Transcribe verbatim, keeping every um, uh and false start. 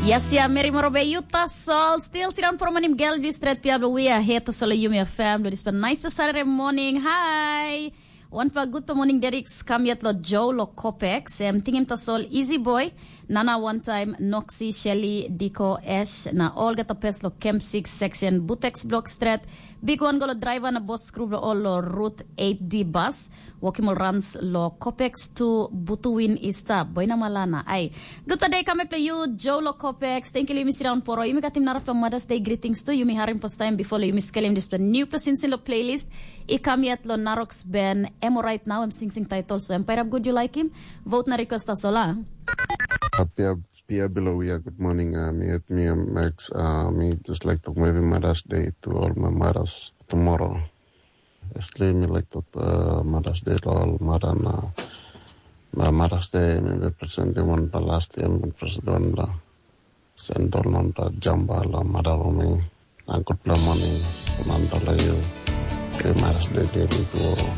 Yes, ya, meri morobe yuta sol. Still, sidan promonim gel bi stret pia, but we are here to solo yumi a fam. Lo dispa nice pa Saturday morning. Hi. Wan pa good pa morning, Derek. Kam yet lo Joe lo Copex. Em tingim ta sol easy boy. Nana one time, Noxy, Shelly, Diko, Ash. Na all get a pes lo Camp six section. Butex block stret. Big one go lo driver na boss crew lo all lo route eight D bus. Wokim ol runs lo Copex tu Butuwin i stap, boina malana. Ai, gutpela de kamek lo yu, Joe lo Copex. Thank you lo yumi sit down poro. Yumi katim narapela Mother's Day greetings tu. Yumi harim first time before lo yumi skelim dispela new sinsin lo playlist. I kam yet lo Narox Ben, em right now, em singsing title. So, em pairap good, you like him? Vote na request as well, ah? Apia, pia below, yeah, good morning. Uh, me at me, um, Max. Uh, me just like to maybe Mother's Day to all my mothers tomorrow. Firstly, mi like to uh, Mother's Day to all mother na, na Mother's Day mi be present di one pa last year mi present one la send all non ta jamba la mother for me. Na good morning, Samantha la you. Happy Mother's Day, baby, to all.